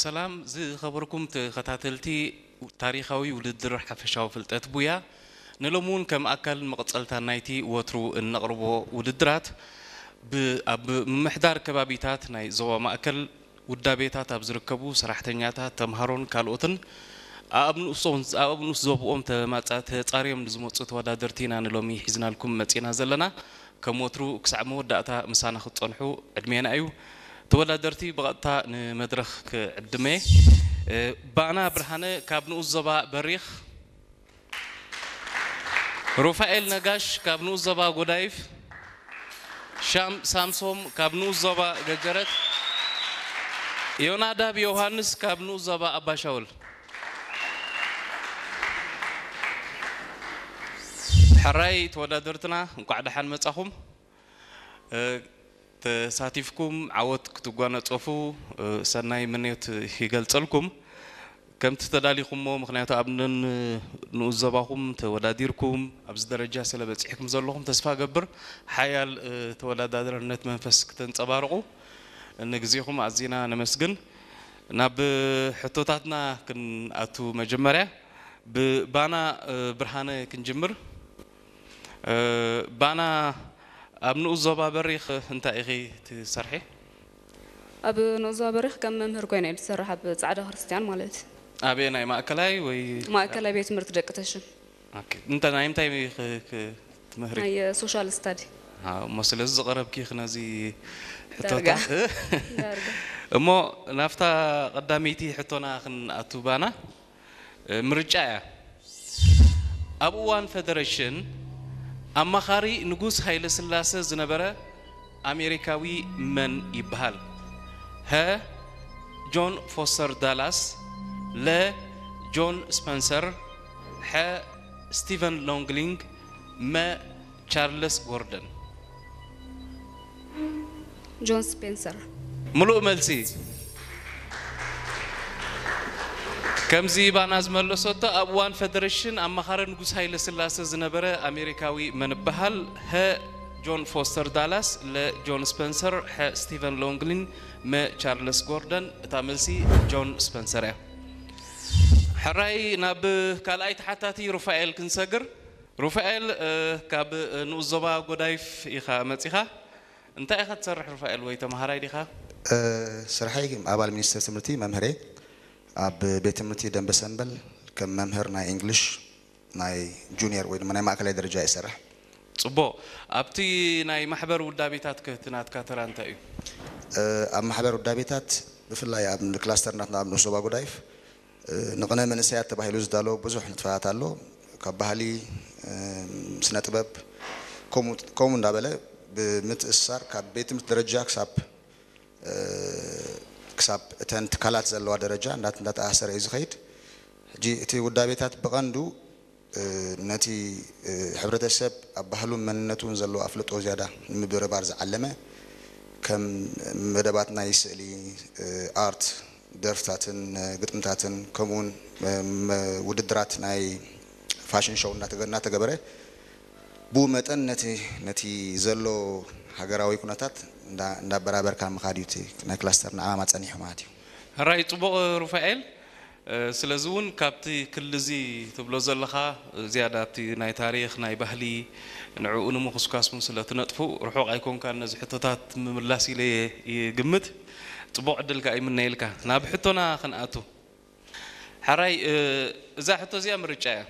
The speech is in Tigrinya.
ሰላም ዝኸበርኩም ተኸታተልቲ ታሪኻዊ ውድድር ሓፈሻዊ ፍልጠት ቡያ፣ ንሎሚ እውን ከም ኣካል መቐጸልታ ናይቲ ወትሩ እነቕርቦ ውድድራት፣ ብ-፣ ኣብ ምምሕዳር ከባቢታት ናይ ዞባ ማእከል ውዳቤታት ኣብ ዝርከቡ ሰራሕተኛታት፣ ተምሃሮን ካልኦትን ኣኣብ ንኡሶም-፣ ኣኣብ ንኡስ ዞብኦም ተማጻ-፣ ተጻርዮም ንዝመጹ ተወዳደርቲ ኢና ንሎሚ ሒዝናልኩም መጺና ዘለና። ከም ወትሩ ክሳዕ መወዳእታ ምሳና ክትጸንሑ ዕድሜና እዩ። ተወዳደርቲ ብቐጥታ ንመድረኽ ክዕድመ። እ፣ ባና ብርሃነ ካብ ንኡስ ዞባ በሪኽ፣ ሩፋኤል ነጋሽ ካብ ንኡስ ዞባ ጎዳይፍ፣ ሻም ሳምሶም ካብ ንኡስ ዞባ ገጀረት፣ ዮናዳብ ዮሃንስ ካብ ንኡስ ዞባ ኣባሻውል። ሕራይ ተወዳደርትና፣ እንቋዕ ደሓን መጻኹም። እ፣ ተሳቲፍኩም ዓወት ክትጓነጸፉ፣ እ፣ ሰናይ ምንዮት ይገልጸልኩም። ከምቲ ተዳሊኹሞ፣ ምኽንያቱ ኣብ ነን-፣ ንኡስ ዞባኹም ተወዳዲርኩም ኣብዚ ደረጃ ስለ በጺሕኩም ዘለኹም፣ ተስፋ እገብር ሓያል፣ እ፣ ተወዳዳርነት መንፈስ ክተንጸባርቑ ንግዜኹም ኣዚና ነመስግን። ናብ ሕቶታትና ክንኣቱ፣ መጀመርያ ብባና፣ እ፣ ብርሃነ ክንጅምር። እ፣ ባና፣ ኣብ ንኡስ ዞባ በሪኽ እንታይ ኢኺ ትሰርሒ? ኣብ ንኡስ ዞባ በሪኽ ከም መምህር ኮይነ እየ ዝሰርሕ፣ ኣብ ጻዕዳ ክርስትያን ማለት እዩ። ኣበየናይ፣ ማእከላይ ወይ? ማእከላይ ቤት ትምህርቲ ደቂ ተሽም። ኦኬ። እንተ-፣ ናይ ምንታይ ክ-፣ ክ-፣ ትምህሪ? ናይ ሶሻል ስታዲ። ኣዎ፣ እሞ ስለዚ ዝቐረብኪ ኢኺ ነዚ ዳርጋ። ሕቶታት። ዳርጋ። እሞ ናብታ ቀዳመይቲ ሕቶና ክንኣቱ፣ ባና፣ እ፣ ምርጫ እያ። ኣብ እዋን ፈደረሽን ኣማኻሪ ንጉስ ሃይለ ስላሰ ዝነበረ ኣሜሪካዊ መን ይበሃል? ሀ፣ ጆን ፎስተር ዳላስ፣ ለ፣ ጆን ስፐንሰር፣ ሐ፣ ስቲቨን ሎንግሊንግ፣ መ፣ ቻርለስ ጎርደን። ጆን ስፔንሰር። ምሉእ መልሲ። ከምዚ ባና ዝመለሰቶ፣ ኣብ እዋን ፈደረሽን ኣማኻሪ ንጉስ ሃይለ ስላሰ ዝነበረ ኣሜሪካዊ መን ይበሃል? ሀ፣ ጆን ፎስተር ዳላስ፣ ለ፣ ጆን ስፐንሰር፣ ሐ፣ ስቲቨን ሎንግሊን፣ መ፣ ቻርለስ ጎርደን። እታ መልሲ ጆን ስፐንሰር እያ። ሕራይ፣ ናብ ካልኣይ ተሓታቲ ሩፋኤል ክንሰግር። ሩፋኤል፣ እ፣ ካብ፣ እ፣ ንኡስ ዞባ ጎዳይፍ ኢኻ መጺኻ። እንታይ ኢኻ ትሰርሕ ሩፋኤል፣ ወይ ተምሃራይ ዲኻ? እ፣ ስርሐይ ኣባል ሚኒስቴር ትምህርቲ መምህር እየ። ኣብ ቤት ትምህርቲ ደንበ ሰንበል ከም መምህር ናይ እንግሊሽ ናይ ጁኒየር ወይ ድማ ናይ ማእከላይ ደረጃ እየ ዝሰርሕ። ጽቡቕ። ኣብቲ ናይ ማሕበር ውዳቤታት ከ እቲ ናትካ ተራ እንታይ እዩ? እ፣ ኣብ ማሕበር ውዳቤታት ብፍላይ ኣብ ክላስተር ናትና ኣብ ንኡስ ዞባ ጎዳይፍ እ፣ ንቕነ መንእሰያት ተባሂሉ ዝዳሎ ብዙሕ ንጥፈታት ኣሎ። ካብ ባህሊ፣ እ፣ ስነ ጥበብ፣ ከምኡ፣ ከምኡ እንዳበለ ብምትእስሳር ካብ ቤት ትምህርቲ ደረጃ ክሳብ፣ እ፣ ክሳብ እተን ትካላት ዘለዋ ደረጃ እንዳት-፣ እንዳተኣሳሰረ እዩ ዝኸይድ። ሕጂ እቲ ውዳቤታት ብቐንዱ፣ እ፣ ነቲ፣ እ፣ ሕብረተሰብ ኣብ ባህሉን መንነቱን ዘለዎ ኣፍልጦ ዝያዳ ንምብርባር ዝዓለመ፣ ከም መደባት ናይ ስእሊ፣ እ፣ ኣርት፣ ደርፍታትን፣ እ፣ ግጥምታትን፣ ከምኡውን፣ እ፣ መ-፣ ውድድራት ናይ ፋሽን ሾው እናተገ-፣ እናተገበረ፣ ብኡ መጠን ነቲ፣ ነቲ ዘሎ ሃገራዊ ኩነታት እንዳ-፣ እንዳበራበርካ ምኻድ እዩ እቲ ናይ ክላስተርና ዕማማ ጸኒሑ ማለት እዩ። ሕራይ፣ ጽቡቕ ሩፋኤል። እ፣ ስለዚ እውን ካብቲ ክሊ እዚ ትብሎ ዘለኻ፣ ዝያዳ ኣብቲ ናይ ታሪኽ፣ ናይ ባህሊ፣ ንዕኡ ንምኹስኳስ እውን ስለ ትነጥፉ፣ ርሑቕ ኣይኮንካን ነዚ ሕቶታት ምምላስ ኢለ እየ ይግምት። ጽቡቕ ዕድል ከኣ ይምነየልካ። ናብ ሕቶና ክንኣቱ። ሕራይ፣ እ፣ እዛ ሕቶ እዚኣ ምርጫ እያ።